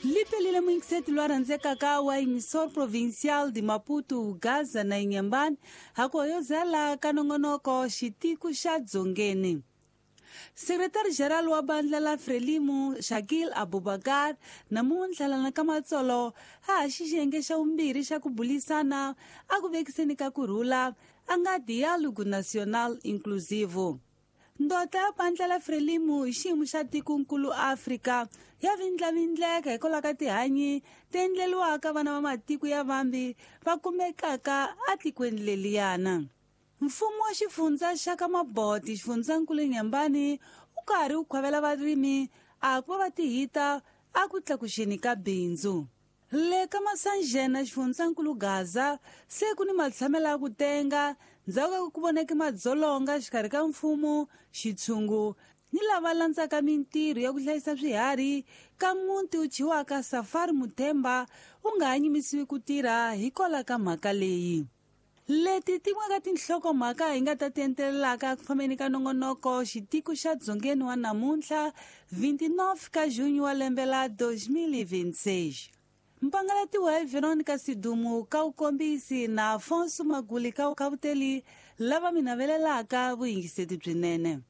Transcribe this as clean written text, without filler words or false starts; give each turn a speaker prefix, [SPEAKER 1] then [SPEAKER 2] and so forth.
[SPEAKER 1] Lipelile muyingiseti lwa rhandzekaka wa Emissor Provincial de Maputo, Gaza na Inhambane, hakoyozela ka nongonoko xitiku xa Dzongeni. Secretary General wa bandla la Frelimo Shakil Abubakar namuntlha lana ka Matsolo a ha xiyenge xa vumbirhi xa ku bulisana a ku vekiseni ka ku rhula a nga Diálogo Nacional Inclusivo. Ndota ya bandla la Frelimo hi xiyimo xa tikonkulu Afrika ya vindlavindleka hikwalaho ka tihanyi ti endleriwaka vana va matiko ya vambi va kumekaka atikweni leliyana. Mfumo wa xifundza xa ka Maboti xifundzankulu Inhambane wu karhi wu khwavela varimi a ku va va tihita a ku tlakuxeni ka bindzu. Le ka Masanjena xifundzankulu Gaza se ku ni matshamelo ya ku tenga ndzhaku ka ku voneke madzolonga xikarhi ka mfumo, xitshungu ni lava landzaka mintirho ya ku hlayisa swiharhi ka muti wu thyiwaka Safari Muthemba wu nga ha nyimisiwi ku tirha hikwalaho ka mhaka leyi. Leti tin'we ka tinhlokomhaka hi nga ta ti entelelaka ku fambeni ka nongonoko xitiko xa Dzongeni wa namuntlha 29 ka junho wa lembe la 2026. Mpangalatiwa hi Veronica Sidumu ka vukombisi na Afonso Maguli ka vukhavuteli lava mi navelelaka vuyingiseti byinene.